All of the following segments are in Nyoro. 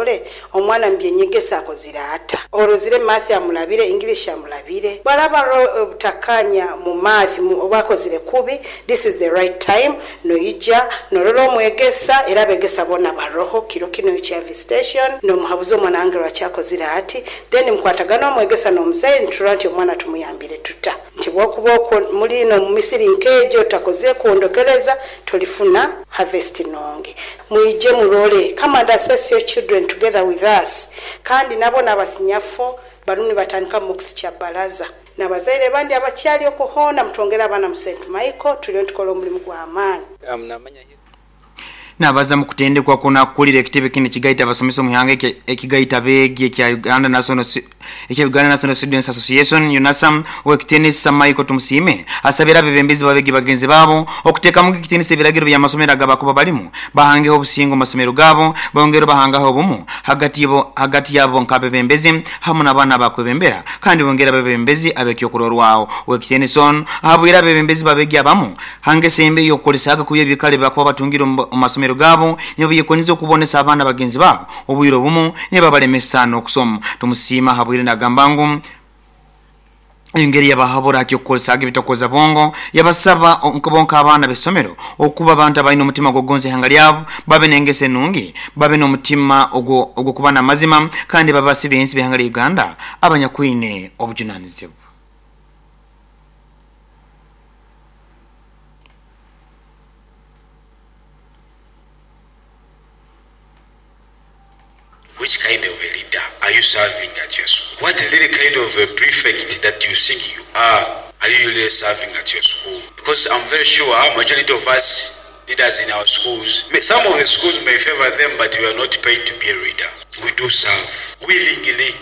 orole omwana mu by'enyegesa akozire ata. Orozire Math amulabire, English amulabire. Bwaraba haroho obutakkaanya mu Math oba akozire kubi, this is the right time noija norora omwegesa era abegesa boona baroho kiro kinu ekya visitation nomuhabuza omwana wange lwaki akozire ati, then mukwatagana omwegesa n'omuzaire niturora nti omwana tumuyambire tuta. Nti bwokuba okwo muli n'omu misiri nk'egyo otakozire kwondokereza tolifuna harvest nungi. Mwije murole, come and assess your children together with us. Kandi nabo n'abasinyafo barimu nibatandika mocks kya baraza. N'abazaire bandi abakyali okwo hoona mutwongere abaana mu Saint Michael turiyo nitukora omulimu gw'amaani. Nabaza mu kutendekwa kuno akulira ekitebe kinu ekigaita abasomesa omu ihanga ekigaita abeegi ekya Uganda National ekya Uganda National Students Association, UNASA, Owekitinisa Michael Tumusiime asabire abebembezi b'abeegi bagenzi baabo okutekamuga ekitinisa ebiragiro by'amasomero agabakuba balimu bahangeho obusinge omu masomero gaabo bongere bahangaho obumu hagati hagati yabo nk'abebembezi hamu n'abaana abakwebembera kandi bongere abebembezi ab'ekyokurorwaho. Owekitinisa onu ahabwire abebembezi b'abeegi abamu Ha ngeso embi ey'okukolesaga kubi ebiikaro ebi bakuba batungire omu masomero gaabo, nibabyekonyeza okubonesa abaana bagenzi baabo obwire obumu nibabalemesa n'okusoma. Tumusiima ahabwire nagamba ngu engeri yabahabura ha ky'okukolesaga ebitakukoza bwongo, yabasaba bo nk'abaana b'isomero okuba bantu abaine omutima gw'okugonza ihanga lyabo, babe n'engeso enungi, babe n'omutima ogw'okuba n'amazima kandi babe basi b'ensi b'ihanga lya Uganda abanyakwine obujunanizibwa. Which kind of a leader are you serving at your school? What really kind of a prefect that you think you are, are you really serving at your school? Because I'm very sure majority of us leaders in our schools, some of the schools may favor them but we are not paid to be a leader. We do serve willingly.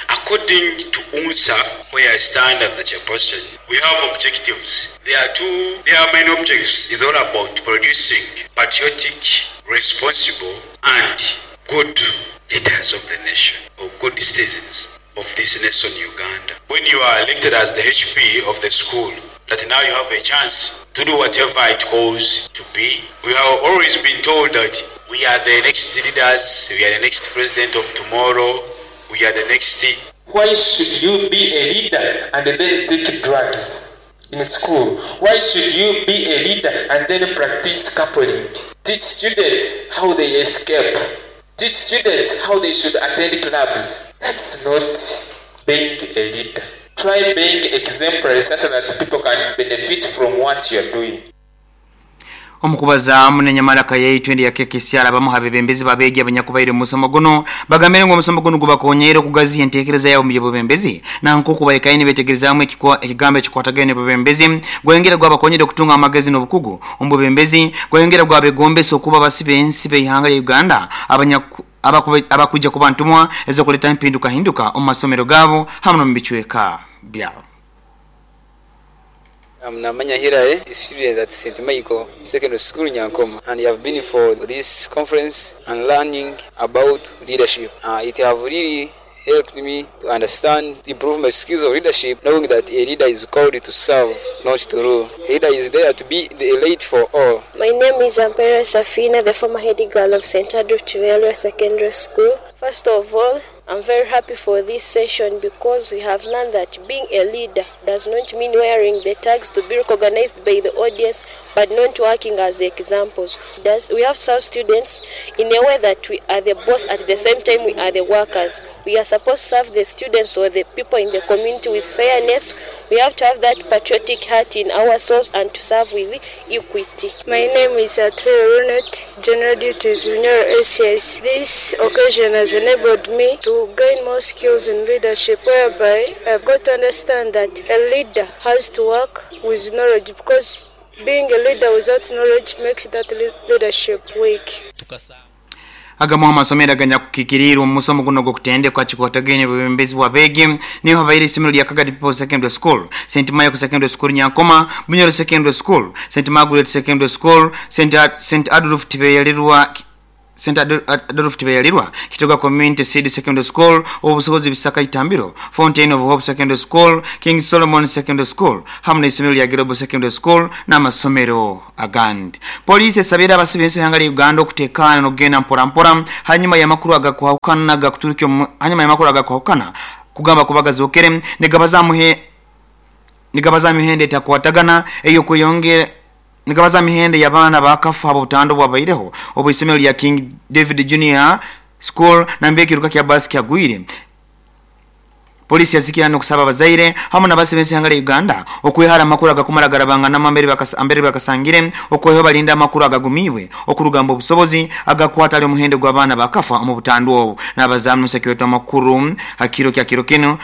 According to UNSA where I stand as the chairperson, we have objectives. There are two, there are many objectives. It's all about producing patriotic, responsible and good leaders of the nation or good citizens of this nation Uganda. When you are elected as the HP of the school, that now you have a chance to do whatever it calls to be. We have always been told that we are the next leaders, we are the next president of tomorrow, we are the next. Why should you be a leader and then take drugs in school? Why should you be a leader and then practice coupling? Teach students how they escape. Teach students how they should attend clubs. That's not being a leader. Try being exemplary such that people can benefit from what you're doing. Omu kubazaamu n'enyamaraka yaitu endi ya KKCR, abamu ha bebembezi b'abeegi abanyakubaire omu musomo gunu bagambire ngu omusomo gunu gubakonyeire okugaziha entekereza yabo omu by'obwebembezi na nk'oku baikaire nibetegerezaamu ekigambo ekikwatagaine n'obwebembezi gwayongera gwabakonyera okutunga amagezi n'obukugu omu bwebembezi gwayongera gwabegombesa okuba basi b'ensi b'eihanga lya Uganda abakwija kuba ntumwa ez'okuleta empindukahinduka omu masomero gaabo hamu n'omu bicweka byabo. I'm Namanya Hillary, a student at St. Michael Secondary School Nyankoma, and have been for this conference and learning about leadership. It have really helped me to understand, improve my skills of leadership, knowing that a leader is called to serve, not to rule. A leader is there to be the light for all. My name is Ampere Safina, the former head girl of St. Adolf Kibeerwa Secondary School. First of all, I'm very happy for this session because we have learned that being a leader does not mean wearing the tags to be recognized by the audience, but not working as examples. Does we have to serve students in a way that we are the boss at the same time we are the workers. We are supposed to serve the students or the people in the community with fairness. We have to have that patriotic heart in ourselves and to serve with equity. My name is Atuhaire Ronald, General Duties Bunyoro SS. This occasion has enabled me to gain more skills in leadership, whereby I've got to understand that a leader has to work with knowledge, because being a leader without knowledge makes that leadership weak. Agamu ha masomero aganyakukikiriirwe omu musomo gunu ogw'okutendekwa kikwatagaine obwebembezi bw'abeegi niho habaire isomero lya Kagadi People's Secondary School, Saint Michael Secondary School Nyankoma, Bunyoro Secondary School, Saint Margaret Secondary School, Saint Adolf Tibeyalirwa St. Adolf Tibeyalirwa, Kitoga Community Seed Secondary School, Obusobozi Bisaka Itambiro, Fountain of Hope Secondary School, King Solomon Secondary School, hamwe n'isomero lya Global Secondary School n'amasomero agandi. Poliisi esabira abasibe b'ensi y'ihanga lya Uganda okutekana n'okugenda mpora mpora hanyuma y'amakuru agakwahukana gakuturukya hanyuma y'amakuru agakwahukana kugamba kubagazokere nigabaza mihende etakwatagana eyokweyongera nigabaza mihende y'abaana bakafa obutando bwabaireho obw'isomero lya King David Junior School nambe ekiruka kya basi kyagwire. Polisi yazikira n'okusaba abazaire hamwe n'abasibe b'ensi y'ihanga lya Uganda okwehara amakuru agakumara garabangana ambere bakasangire okweho balinda amakuru agagumiibwe okurugamba obusobozi agakwata ali omuhendo gw'abaana bakafa omu butandu obu. N'abazaamu n'omusekiwetu amakuru hakiro kya kiro kino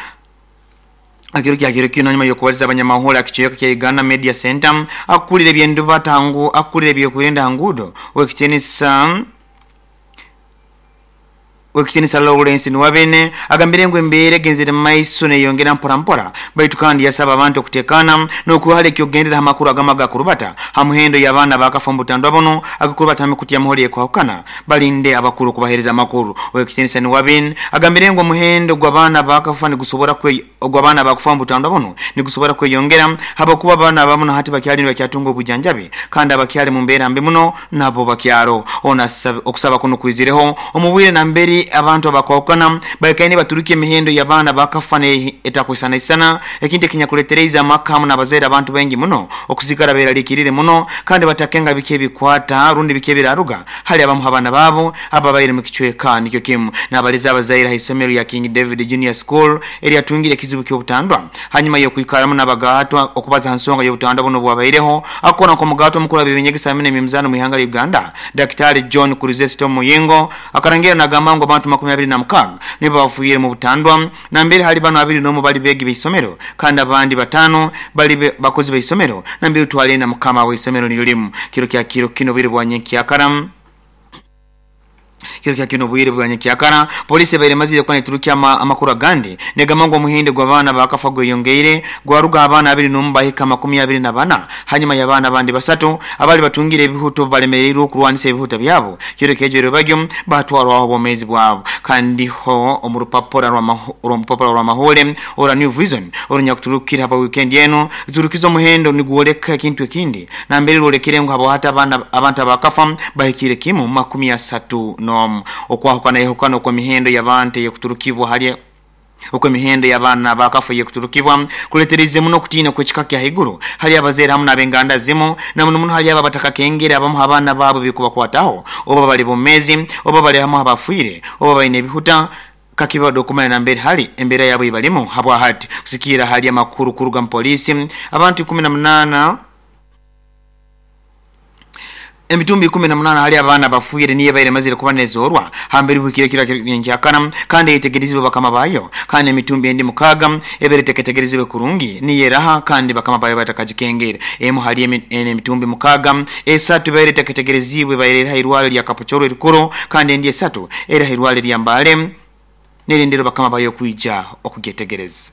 akiro kya kiro kino nyuma y'okubaliza abanyamahoro akichweka kya Uganda Media Center akulira ebyenduba tangu akulira ebyokwerinda ngudo wekitinisa Lawrence Niwabene agambire ngu embeera egenzere mu maiso neyongera mpora mpora baitu kandi yasaba abantu okutekana n'okuhala ekyokugendera amakuru agama gakurubata ha muhendo y'abaana bakafa omu butandwa buno agakurubata hamikutu y'amahoro ekwahukana balinde abakuru okubaheereza amakuru. Wekitinisa Niwabene agambire ngu omuhendo gw'abaana bakafa nigusobora ogw'abaana bakufa omu butandwa buno nigusobora kweyongera habwokuba abaana abamu na hati bakyali nibakyatunga obujanjabi kandi abakyali mu mbeera mbi muno nabo bakyaro. Ono okusaba kuno kwizireho omu bwire namberi abantu abakwahukana baikaine baturuka emihendo y'abaana bakafa etakwisanaisana ekintu ekinyakuletereza amaka hamwe n'abazaire abantu baingi muno okusigara beeralikirire muno kandi batakenga biki ebikwata rundi biki ebiraruga hali abamu abaana baabo ababaire mu kicweka nikyo kimu. N'abaliza abazaire ha isomero lya King David Junior School eryatungire ekizibu ky'obutandwa hanyuma y'okwikaramu n'abagaatwa okubaza ha nsonga y'obutandwa buno bwabaireho akora nk'omugaatwa omukuru w'ebyenyegesa hamwe n'emyemizaano mu ihanga lya Uganda Daktari John Chrysostom Muyingo akarangira n'agamba ngu abantu 26 nibo bafuire mu butandwa nambere hali bano 21 bali begi b'isomero kandi abandi 5 bali bakozi b'isomero nambere twale na mukama w'isomero nilimu. Kiro kya kiro kino biri bwanyenkyakara kiro kya kino bwire bwanyenkyakara polisi ebaire mazire kuba neturukia amakuru agandi negamba ngu omuhendo gw'abaana bakafa gweyongeire gwaruga abaana 21 bahika 24 hanyuma y'abaana abandi 3 abali batungire ebihuto balemereirwe okurwanisa ebihuto byabo kiro kyejero bagyo batwarwaho obwomeezi bwabo. Kandi ho omu rupapura rw'amahore ora New Vision orunyakuturukira haba weekend eno turukiza omuhendo nigwoleka ekintu ekindi nambere rwolekire ngu habo hata abantu abakafa bahikire kimu 31. Okwahukana yehukana okw'emihendo y'abantu ey'okuturukibwa hali okw'emihendo y'abaana bakafa ey'okuturukibwa kuletereze muno okutiina kw'ekika kya haiguru hali abazaire hamwe n'ab'enganda zimu na muno muno hali abo abatakakengere abamu abaana baabo bikubakwataho oba bali bomezi oba bali hamwe abafiire oba baine ebihuta kakibado okumanya nambere hali embeera yabo ibalimu habwa hati kusikira hali amakuru kuruga mu polisi abantu 18 emitumbi 18 hali abaana bafuire niye baire mazire kuba nezorwa hambere bukire kira nkyakana kandi yetegerezibwe bakama bayo kandi emitumbi endi 6 ebere teketegerezibwe kurungi niye raha kandi bakama bayo batakajikengera emu hali emitumbi 6 esatu baire teketegerezibwe baire hairwale lya Kapochoro erikuru kandi endi 3 era hairwale lya Mbale nerindiro bakama bayo kuija okugetegereza.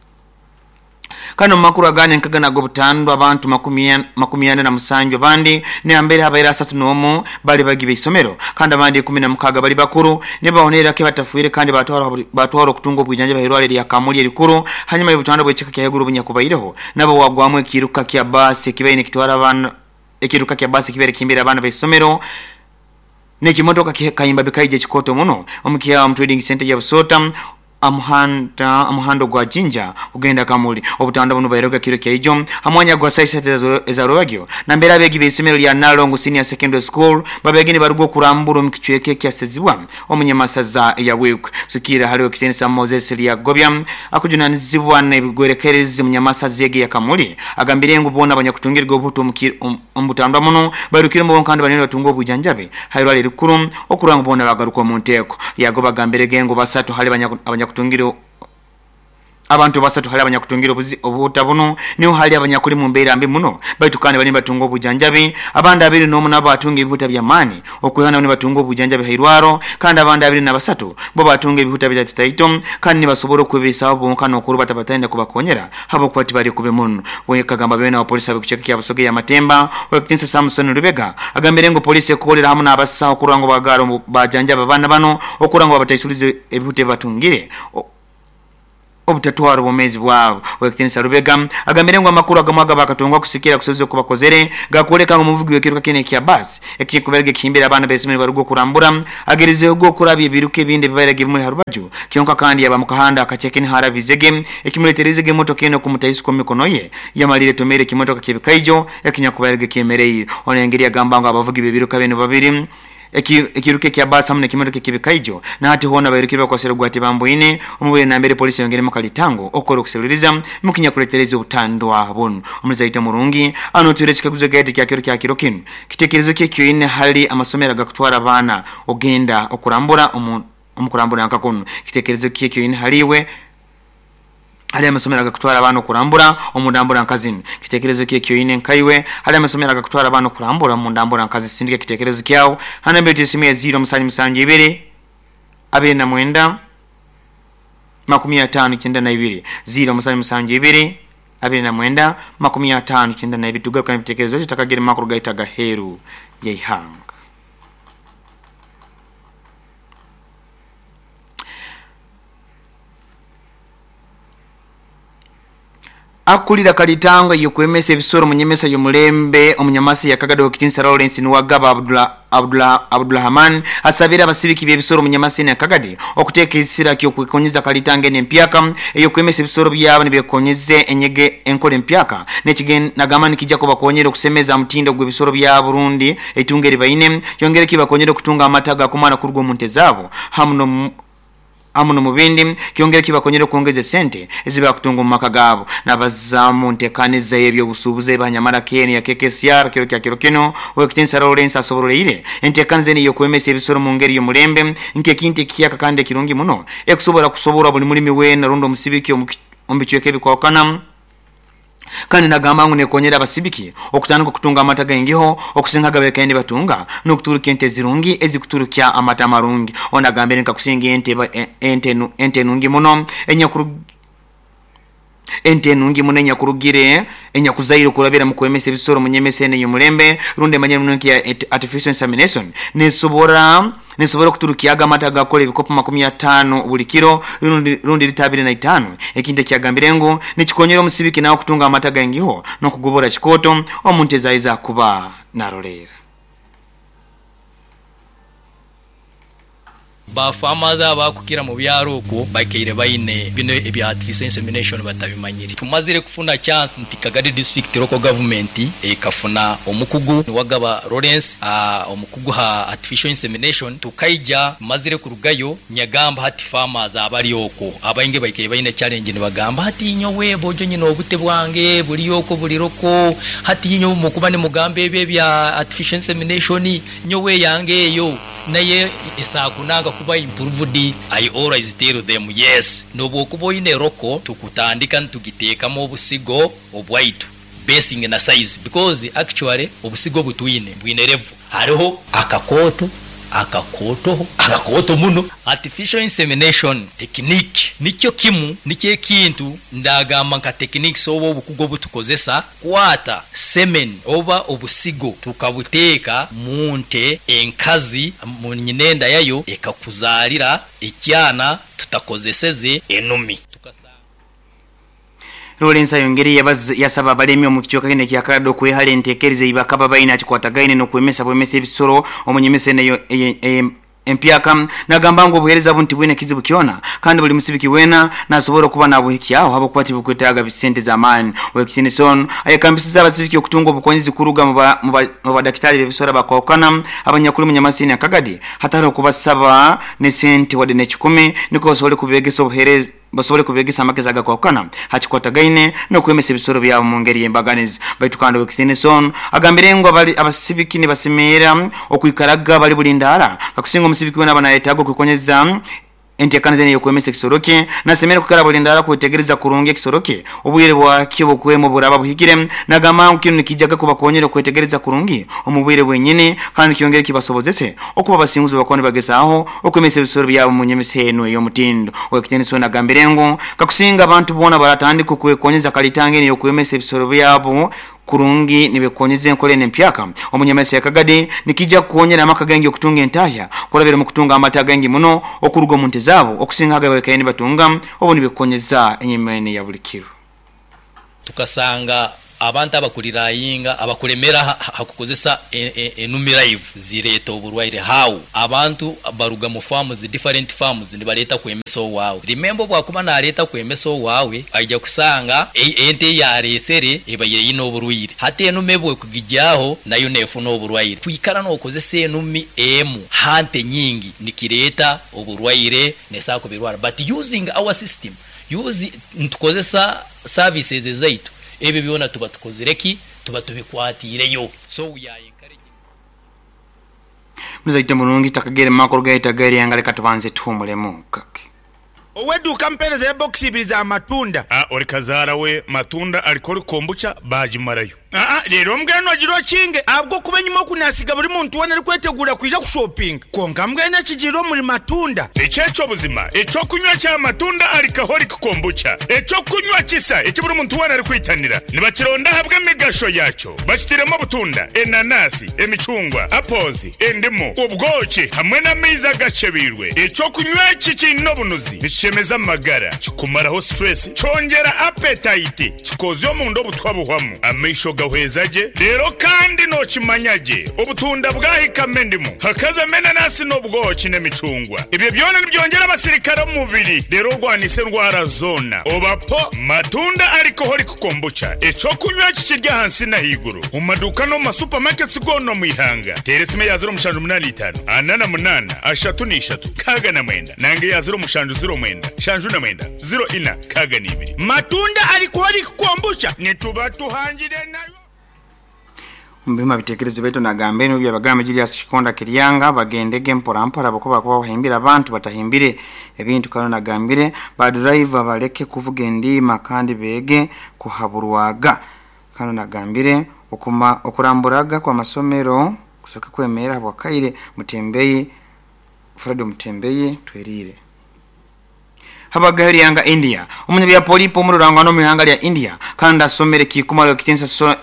Kano makuru agane nkagana gobutandwa abantu 47 bandi ne ambere habaira 31 bali bagibe isomero kandi abandi 16 bali bakuru ne bahonera ke batafuire kandi batwara okutunga obujanja bahirwale lya Kamuli erikuru hanyuma y'obutandwa bw'ekika kya heguru bunyakubaireho nabo wagwamu ekiruka kya basi kibaine kitwara abana ekiruka kya basi kibere kimbira abana b'isomero n'ekimotoka kayimba bikaije kikoto muno omukiya mu trading center ya Busota amuhando gwa Jinja ugenda Kamuli obutanda buno bairoga kiro kya ijo amwanya gwa saisa ezarobagyo nambera abegi b'isomero lya Nalongo Senior Secondary School babegeni barugo kurambura mu kichweke kyasezibwa omunyamasaza ya wikwe sukira haliwo kitenisa Moses lya Gobya akujunanizibwa n'ebigwerekerezi munyamasaza ya Kamuli agambire ngu bona abanyakutungirwa obuto omubutandwa muno barukire mu kandi banene batunga obujanjabi hairwale rikuru okuranga bona bagaruka mu nteko yago bagambire gengo basatu hali abanyakutungiro Abantu basatu hali abanyakutungire obuhuta bunu niho hali abanyakuli mu mbeera mbi muno, baitu kandi bali nibatunga obujanjabi. Abandi 21 nabo batunga ebihuta by'amaani okwihaho nabo nibatunga obujanjabi hairwaro, kandi abandi 23 bo batunga ebihuta bitatotaito kandi nibasobora okwebeisaho bonka n'okurubata bataine kubakonyera habwokuba tibali kubi muno. Kagamba beena wa polisi ab'ekicweka kya Busoga eya Matemba, Ow'ekitiinisa Samson Lubega agambire ngu polisi ekukolera hamu n'abasaho okurora ngu bagaara bajanjaba abaana banu okurora ngu babataisuliza ebihuta ebibatungire obutatwara obwomeezi bwabo. Ow'ekitiinisa Lubega agambire ngu amakuru agamu agabakatunga kusikira kusozi oku bakozere gakwoleka ngu omuvugi w'ekiruka kinu ekya baasi ekikubaire kihimbire abaana b'isomero nibaruga okurambura agerizehoga okurabya ebiruka ebindi ebibaire bimuli ha rubaju kyonka kandi yaba mukahanda akaceke niho arabizege ekimuletereizege emotoka enu okumutaisuka omu mikono ye yamalire etomeire ekimotoka ky'ebikaijo ekinyakubaire kyemereire. Ono engeri yagamba ngu abavugi b'ebiruka binu babiri Ekiruka ekya baasi hamu n'ekimotoka eky'ebikaijo na hati hoona bairukire bakwasire ogwa Tibamboine omu bwire nambere poliisi eyongeremu akalitango okukora okuseruliiriza mukinyakuletereza obutandwa bunu. Omuzaito murungi anotwire ekikaguzo gaidi kya kiro kya kiro kinu, Kitekerezo ki ekyoine hali amasomero agakutwara abaana ogenda okurambura omu kurambura nka kunu? Kitekerezo ki ekyoine hali iwe? Hali amasomero agakutwara abaana okurambura omu ndambura nka zinu. Kitekerezo ki ekyoine nkaiwe hali amasomero agakutwara abaana okurambura omu ndambura nka zinu? Sindika ekitekerezo kyawe ha namba yaitu y'esimu ya ziiro musanju musanju ibiri abiri na mwenda makumi ataano kyenda na ibiri, ziiro musanju musanju ibiri abiri na mwenda makumi ataano kyenda na ibiri. Tugaruka n'ebitekerezo tutakagire mu makuru gaitu agaheeru y'eihanga. Akulira kalitanga y'okwemesa ebisoro mu nyemesa y'omulembe omunyamasi ya Kagadi ow'ekitinisa Lawrence Nuwagaba Abdulrahman asabire abasibiki b'ebisoro omu nyamasi ya Kagadi okuteeka esira ky'okwekonyeza kalitanga enu empyaka ey'okwemesa ebisoro byabo nibekonyeze enyege enkora empyaka nagamba nikija kubakonyera okusemeza omutindo gw'ebisoro byabo rundi eitungo eribaine kyongere kibakonyere okutunga amata agakumara kuruga omu nte zaabo hamu hamu n'omubindi kyongere kibakonyere okwongeza esente ezibakutunga omu maka gaabo. Nabaza mu ntekaniza ey'ebyobusuubuzi eba ha enu ya KKCR kiro kya kiro kinu, Ow'ekitinisa Lawrence asoboroleire entekaniza enu ey'okwemesa ebisoro mu ngeri y'omulembe nk'ekintu ekihyaka kandi ekirungi muno ekusobora kusoborwa buli mulimi weena rundi omusibiki omu bicweka ebikwahukana. Kandi nagamba ngu nekonyera abasibiki okutandika okutunga amata gaingiho okusinga agabaikaire nibatunga n'okuturukya ente ezirungi ezikuturukya amata amarungi. Ono agambire nka kusinga ente enungi muno ente enungi muno enyakurugire enyakuzaire okurabira mu kwemesa ebisoro mu nyemesa enu ey'omulembe rundi emanyire muno nka artificial insemination nesobora Nisobora okuturukyaga amata agakukora ebikopo makumi ataano buli kiro rundi lita abiri na itaano, ekintu eki yagambire ngu nikikonyera omusibiki nawe okutunga amata gaingiho n'okugobora kikooto omu nte zaye ezakuba naroleera. Ba farmers abakukira mu byaro okwo baikaire baine bino ebya artificial insemination batabimanyire. Tumazire kufuna chance nti Kagadi district local government ekafuna omukugu Niwagaba Lawrence omukugu ha artificial insemination, tukaija tumazire kurugayo nyagamba hati farmers abari okwo abaingi baikaire baine challenge nibagamba hati nyowe bojo nyine obute bwange buri okwo buri roko, hati nyowe mukuba nimugamba ebyo ebya artificial insemination nyowe eyange eyo naye esakunanga kuba improved. I always tell them yes nobwokuba oine roko tukutandika nitugitekamu obusigo obwaitu basing na size because actually obusigo obutwine bwine level hariho akakooto akakootoho akakooto muno. Artificial insemination technique nikyo kimu nikyo ekintu ndagamba nka techniques oba obukugu obutukozesa Kwata semen oba obusigo tukabuteeka mu nte enkazi mu nyinenda yayo ekakuzaalira ekyana tutakozeseze enumi. Tukasanga. Lawrence ayongeire yasaba abalemi omu kicweka kinu ekya Kalado okwehara entekereza eyibakaba baine hakikwatagaine n'okwemesa bwemesa ebisoro omu nyemesa enu empyaka. Nagamba ngu obuheereza bunu tibwine kizibu kyona kandi buli musibiki weena nasobora okuba nabuhikyaho habwokuba tibukwetaaga sente z'amaani. Ow'ekitiinisa onu ayekambisize abasibiki okutunga obukonyezi kuruga mu badakitaali b'ebisoro abakwahukana abanyakuli omu Nyamasini na Kagadi hatali okubasaba n'esente wadde n'ekikumi nukwo basobole kubeegesa obuheereza basobole kubegesa amagezi agakwahukana ha kikwatagaine n'okwemesa ebisoro byabo mu ngeri y'embaganiza. Baitu kandi ow'ekitiinisa onu agambire ngu abasibiki nibasemerra okwikaraga bali bulindaara kakusinga omusibiki weena aba nayetaaga okwekonyeza. entekaniza enu ey'okwemesa ekisoro kye nasemere kwikara bulindaara kwetegereza kurungi ekisoro kye obwire bwakyo obukwema oburaba buhikire. Nagamba ngu kinu nikijaga kubakonyera okwetegereza kurungi omu bwire bwenyini kandi kyongere kibasobozese okuba abasinguzi bakuba nibagezaaho okwemesa ebisoro byabo mu nyemesa enu ey'omutindo. Owekitiinisa onu agambire ngu kakusinga abantu boona baratandika okwekonyeza kalitanga enu ey'okwemesa ebisoro byabo kurungi nibekonyeza enkora enu empyaka omu nyamesa ya Kagadi nikija kukonyera amaka gaingi okutunga entahya kurabira omu kutunga amata gaingi muno okuruga omu nte zaabo okusinga ago abakaire nibatunga obu nibekonyeza enyama enu eya buli kiro. Tukasanga abantu abakurirayinga abakulemera ha kukozesa enumi live zireta oburwaire how abantu baruga mu farms different farms nibareta kwemesa owawe remember obwakuba nareta kwemesa owawe aija kusanga ente eyaresere ebaire eyine oburwaire hati enumi ebwekugigyaho nayo nefuna oburwaire kwikara nokozesa enumi emu ha nte nyingi nikireta oburwaire nesobola kubirwara but using our system use nitukozesa services ezaitu ebyo byona tuba tukozire ki tuba tubikwatireyo so we are encouraging. Muzaite mulungi takagere makuru gaita gaire nga leka tubanze tuhumulemu kake. Ow'eduuka ampeereza ya bokisi ibiri za matunda. A Ori kazaara we matunda alcoholic kombucha baagimarayo. Aa Reero mbwenu ogira okinge ahabw'okuba enyima oku naasiga buri muntu weena arikweteguura kwija kushopinga. Kwonka mbwenu ekigiire omuri matunda. Eki eky'obuzima, eky'okunywa kya matunda alcoholic kombucha, eky'okunywa kisa eki buri muntu weena arikwitanira. Nibakironda ahabw'emigasho yaakyo. Bakitairemu obutunda, enanasi, emicungwa, apples, endimu, obwoki hamwe n'amaizi agakyebeirwe. Eky'okunywa eki kiine obunuzi, nikishemeza amagara, kikumaraho stress, kyongyera appetite, kikoozya omunda obutwa buhwamu, amaisho gahweza gye, reero kandi nookimanya gye obutunda bwahikamu endimu, hakazamu enanasi n'obwoki n'emicungwa. Ebyo byona nibyongyera abasirikare omu mubiri reero orwanise endwara zoona. Oba po matunda alcoholic Kombucha, eky'okunywa eki kiri ahansi n'ahaiguru omu maduuka n'omu ma supermarkets goona omu ihanga. Teera esimu eya 0785 48 33 69 nanga eya 0709 79 04 62. Matunda Alcoholic Kombucha nituba tuhangire nayo. Omu bitekerezo baitu nagamba eno Byabagamba Julius Kikonda Kiryanga bagendege mpora mpora ahabwokuba bakuba bahimbire abantu batahimbire ebintu kandi nagambire ba driver baleke kuvuga endiima kandi beege kuhaburwaga kandi nagambire okuma okuramburaga kw'amasomero kusoke kwemera habwakaire Mutembeyi Fred Mutembeyi Twerire. Habagaho eryanga India. Omunyabyapolipo omururangano omu ihanga lya India kandi asomere kikumara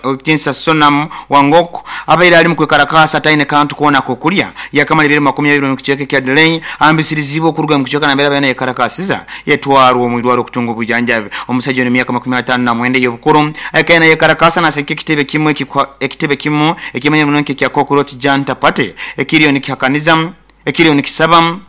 owekitiinisa Sonam Wangok abaire ali mukwekarakaasa ataine kantu koona akokulya yakamara ebiro 20 omu kicweka ekya Delhi ahambisirizibwe okuruga omu kicweka nambere abaire nayekarakaasiza yatwarwa omu irwarro okutunga obwijanjabi. Omusaija onu emyaka 59 ey'obukuru akaire nayekarakaasa nasagika ekitebe kimu ekitebe kimu ekimanyirwe muno nk'ekya Cockroach Janta Party ekiriyo nikihakaniza ekiriyo nikisaba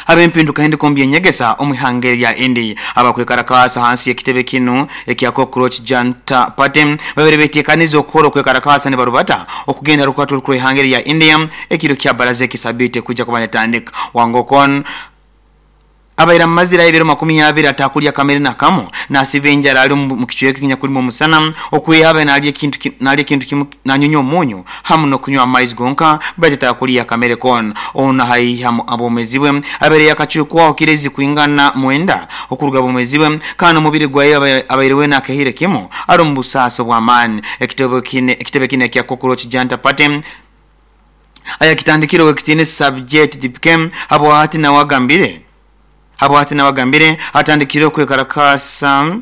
ab'empindukahinduka omu by'enyegesa omu ihanga erya India. Abakwekarakaasa hansi y'ekitebe kinu ekya Cockroach Janta Party babaire betekanize okukora okwekarakaasa nibarubata okugenda rukwata orukuru ihanga erya India ekiro kya baraza eki sabiiti ekwija kuba netandika. Wangokon abaire amazire ebiro 20 atakulya kamere nakamu nasiba enjara ali omu kicweka ekinyakulimu omusana okwiha abe nalya ekintu nalya ekintu kimu nanyunya omunyu hamu n'okunywa amaizi gonka baitu atakulya kamere koona. Ono haihi abwomezi bwe abaire yakacwekwaho kirezi kwingana 9 okuruga bwomezi bwe kandi omubiri gwaye abaire weena akehire kimu ali omu busaasi obw'amaani. Ekitebe kine ekya Cockroach Janta Party ayakitandikire owekitiinisa Sabjet Dipke habwahati nawe agambire habwahati nawe agambire atandikire okwekarakaasa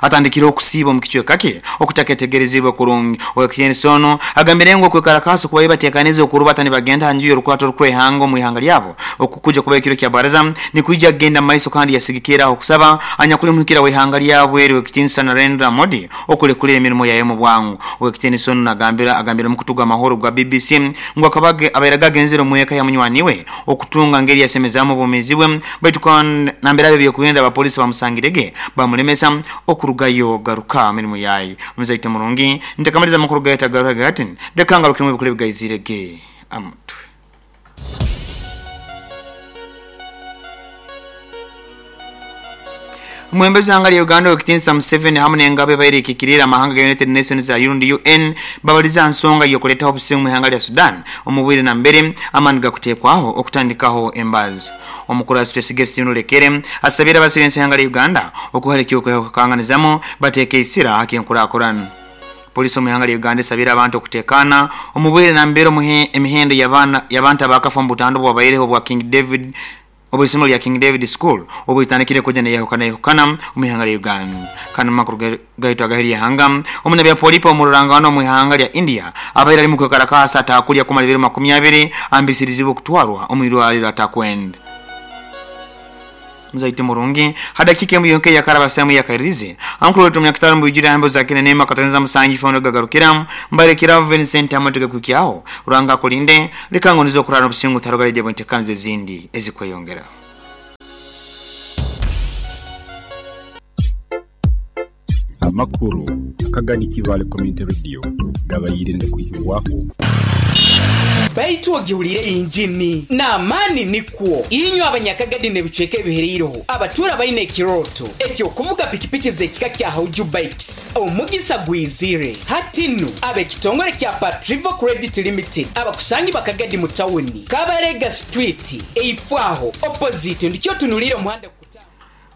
atandikire okusiiba omu kicweka kye okutaketegerezibwe kurungi. Owekitiinisa ono agambire ngu okwekarakaasa kubaire batekanize okurubata nibagenda ha nju y'orukwata orukwehanga omu ihanga lyabo okukuja kuba ekiro kya baraza nikwija kugenda maiso kandi yasigikiraho okusaba anyakuli muhikira w'ihanga lyabo eri owekitiinisa Narendra Modi okulekulira emirimo yaye mu bwangu. Owekitiinisa ono nagambira agambire omukutu gw'amahoro gwa BBC ngu akaba abaire agenzere omu eka ya munywani we okutunga ngeri yasemezaamu obwomeezi bwe baitu kandi nambere abe byokuhenda abapolisi bamusangirege bamulemesa okurugayo garuka mirimu yaye. Muzaite murungi ntakamaliza amakuru gaita garuka gati leka ngarukiremu ebikuru ebigaizirege amutwe. Omwebembezi w'ihanga lya Uganda owekitiinisa Museveni hamu n'engabo ebaire ekikiriire amahanga ga United Nations rundi UN babalize aha nsonga y'okuleetaho obusinge omu ihanga lya Sudan omu bwire nambere amaani gakuteekwaho okutandikaho embazo. Omukurasi Twesige Steven Olekere asabire abasibe ihanga lya Uganda okuhala ekyokukanganizamu bateeke isira hakenkurakurana. Polisi omu ihanga lya Uganda esabire abantu okutekana omubwire nambere emihendo y'abantu abakafa omu butandu bwabaireho bwa King David obw'isomero lya King David School obwitandikire kuja neyahukana yahukana omu ihanga lya Uganda. Kandi mu makuru gaitu agaheri ihanga, omunabya polipo omururangano omu ihanga lya India abaire ali mu kwekarakasa atakulya kumara ebiro 20 ambisirizibwe okutwarwa omu irwariro atakwenda. Mzaite murungi hadakika emu yonke yakaraba sehemu ya kairizi ankuru wetu mnyakitaro mbujira ambo za kina neema katanza musanji fono gagarukira mbarekira Vincent amatega kukiaho uranga kulinde likango nizo kurana busingu tarogale je bontekanze zindi ezikweyongera. Amakuru Akagadi Kibale Community Radio gabayire ngakwihibwaho. Baitu ogiwulire injini n'amaani nikwo inywe abanyakagadi n'ebicweka ebihereireho abatuura baine ekirooto ekyokuvuga pikipiki z'ekika kya Hauju Bikes omugisa gwizire hati nu ab'ekitongole kya Patrivo Credit Limited abakusangi bakagadi mu tawuni Kabarega Street eifwaho opposite ndikyo tunulire omuhanda.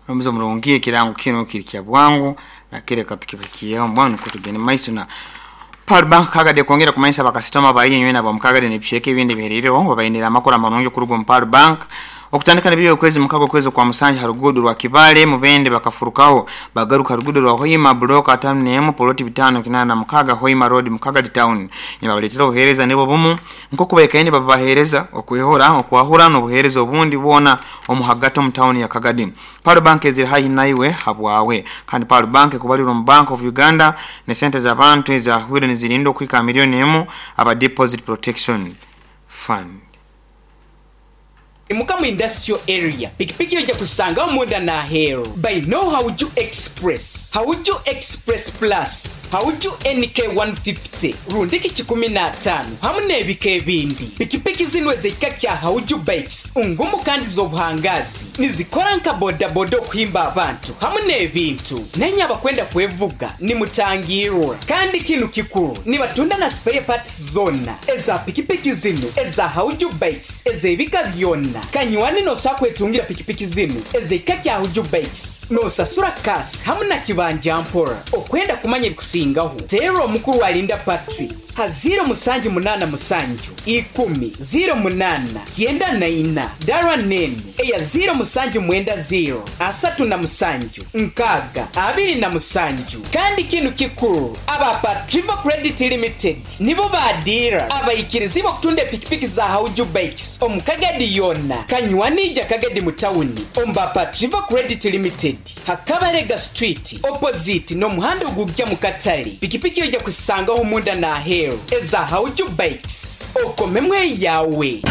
Omuzo murungi ekirango kino kiri kya bwangu na kireka tukibakiyeho mbwanu kutugende maiso na Pearl Bank kagade kwongera kumanyisa bakasitoma bayi nywe nabo mukagade n'ebicweka ebindi bihereireho babainira amakuru amarungi kuruga mu Pearl Bank okutandika n'ebiro okwezi mukago kwezi kwa Musanje harugudo rwa Kibale mubende bakafurukaho bagaruka rugudo rwa Hoima block 51 poloti 586 Hoima Road Mukagadi Town nibabaletera obuhereza nibo bumu nko kubekaine babahereza okwehora okwahura n'obuhereza obundi bwona omuhagati mu town ya Kagadi. Pearl Bank eziri haihi naiwe habwawe kandi Pearl Bank kubalirwa mu Bank of Uganda ne sente z'abantu ezahwire nizirindo kwika milioni emu aba Deposit Protection Fund. Mukamu Industrial Area pikipiki yoja kusanga omunda na hero by no Hauju Express, Hauju Express Plus, Hauju NK 150 rundiki 15 hamu n'ebika ebindi. Pikipiki zino ez'ekika kya Hauju Bikes ngumu kandi z'obuhangazi nizikora nka bodaboda okuhimba abantu hamu n'ebintu nenye abakwenda kwevuga nimutangirwa. Kandi kinu kikuru nibatunda na spare parts zona eza pikipiki zino eza Hauju Bikes ez'ebika byonna. Kanywani nosakwetungira pikipiki zinu ez'ekika kya Hauju Bikes nosasura kasi hamu na kibanja mpora. Okwenda kumanya ebikusingaho teera omukuru alinda Patrick ha 0787 10 08 94 dara nene eya 0790 37 6 27. Kandi kinu kikuru aba Patrivo Credit Limited nibo badira abaikirizi bokutunda pikipiki za Hauju Bikes omukagadi yona kanywanija Kagadi mutawuni omba Patrivo Credit Limited Hakabarega Street opposite n'omuhanda ogujja mu katale. Pikipiki yoja kusangaho omunda na hero eza Hauju Bikes okomemwe yawe.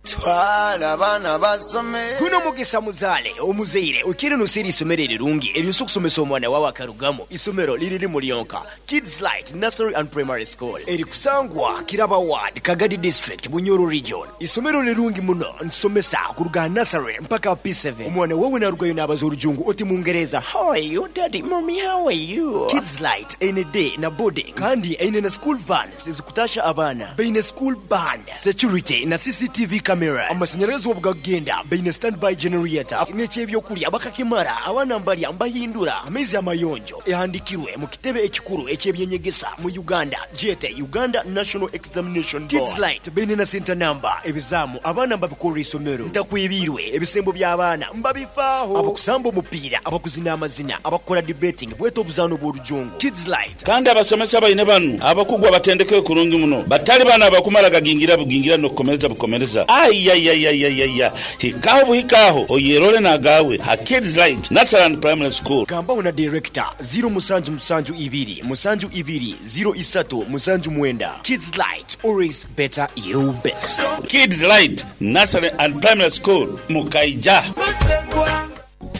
Twala abaana basome. Guno mugisa muzaale omuzaire okire nosera isomero erirungi eryosa okusomesa omwana wawe akarugamu. Isomero liriri mulyonka Kids Light Nursery and Primary School erikusangwa Kiraba Ward, Kagadi District, Bunyoro Region. Isomero lirungi muno nsomesa kuruga nursery mpaka P7. Omwana wawe narugayo nabaza orujungu oti Mungereza, how are you daddy, mommy, how are you? Kids Light ene day na boarding kandi ene na school vans ezikutasha abaana baine school band, security na CCTV cameras. Amashanyarazi obugagenda baine standby generator n'ekyebyokulya bakakimara abaana mbalya mbahindura amaizi amayonjo ehandikirwe mu kitebe ekikuru ekyebyenyegesa mu Uganda jete Uganda National Examination Board. Kids Light baine na center number ebizamu abaana mbabikorera isomero ntakwibirwe ebisembo by'abaana mbabifaaho abakusamba omupiira abakuzina amazina abakora debating bweta obuzaano bw'orujungu. Kids Light kandi abasomesa baine banu abakugwa batendeke kurungi muno batali bana abakumara gagingira bugingira n'okukomereza bukomereza. Ayayayayaya hikaho buhikaho oyerole nagawe ha Kids Light Nursery and Primary School. Gambaho na director 0772 72 03 79. Kids Light, always better you best. Kids Light Nursery and Primary School Mukaija.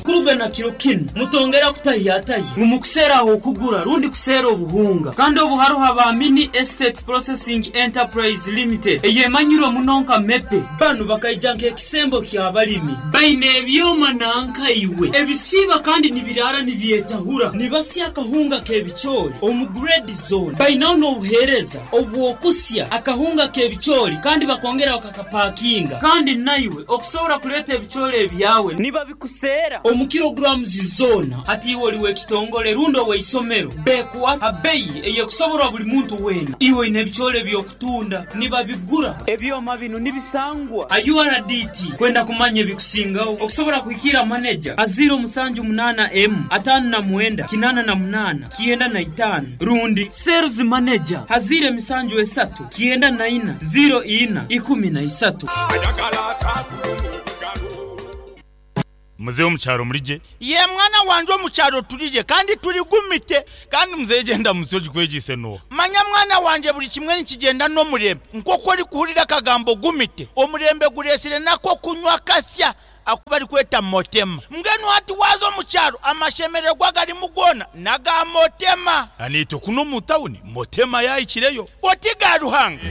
Kuruga na kiro kinu, mutongera kutahiyatahya ngu mukuseera ah'okugura rundi kuseera obuhunga. Kandi obu haroho aba Mini Estate Processing Enterprise Limited eyemanyirwe muno nka MEPE. Banu bakaija nk'ekisembo ky'abalimi. Baine ebyoma nanka iwe ebisiiba kandi nibiraara nibyetahura. Nibasya akahunga k'ebicoori omu grade zoona. Bainaho n'obuheereza obw'okusya akahunga k'ebicoori kandi bakongera bakakapakinga. Kandi naiwe okusobora kuleeta ebicoori ebyawe nibabikuseera omu kilograms zoona. Hati iwe oli w'ekitongole rundi ow'eisomero, beekuha ha beyi ey'ekusoborwa buli muntu weena. Iwe oine ebicoori eby'okutunda, nibabigura. Ebyoma binu nibisangwa ha URDT. Kwenda kumanya ebikusingaho, okusobora kuhikiira maneja ha 078 emu 59 88 95 rundi Sales Manager ha 073 94 04 13. Muzei omu kyaro muri gye? Yee mwana wangye omu kyaro turi gye kandi turi gumite. Kandi muzei egyo endamutsyo ogikwegyeise n'oha? Manya mwana wangye buri kimwe nikigyenda n'omurembe. Nk'oku orikuhurira akagambo gumite, omurembe gureetsire n'ak'okunywa akasya aku barikweta Motema. Mbwenu hati waaza omu kyaro amashemererwa agarimu goona n'aga Motema. Naitwe kunu omu tawuni Motema yaahikireyo. Oti ga Ruhanga.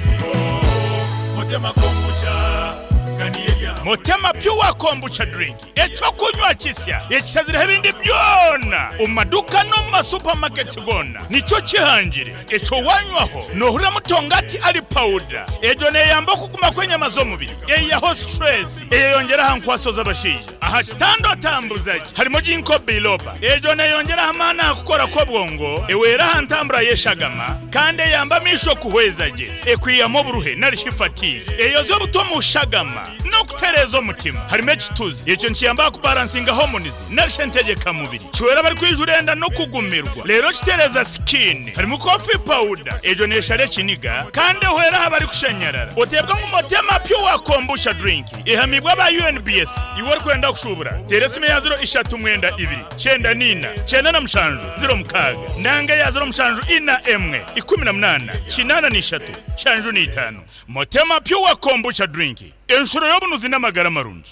Motema Pure Kombucha Drink, eky'okunywa kisya ekishazireho ebindi byona omu maduuka n'omu ma supermarkets goona nikyo kihangire. Ekyo wanywaho nohuriramu tongati ali powder. Egyo neyamba okuguma kw'enyama z'omubiri, eyihaho stress, eyeyongyera aha nkwaso z'abashaija. Aha kitanda otambuza gye harimu Ginkgo biloba. Egyo neyongyera aha maani aha kukora kw'obwongo, ehwera aha ntambura y'eshagama kandi eyamba amaisho kuhweza gye. Ekwihamu oburuhe nari shi fatigue. Eyozya obuta omu shagama n'okutereeza omutima. Harimu ekituzi. Ekyo nikiyamba aha kubaransinga hormones nari shi entegyeka mubiri. Kihwera abarikwijura enda n'okugumirwa. Reero kitereeza skin. Harimu coffee powder. Egyo neeshara ekiniga kandi ehwera aha barikushanyarara. Oteebwa ngu Motema Pure Kombucha Drink ehamiibwe aba UNBS. Iwe orikwenda kushuubura, teera esimu eya ziro ishatu mwenda ibiri, kyenda na ina, kyenda na mushanju, ziro mukaaga, nanga eya ziro mushanju ina emwe, ikumi na munaana, kinaana na ishatu, nshanju na itaano. Motema Pure Kombucha Drink, enshuro y'obunuzi n'amagara marungi.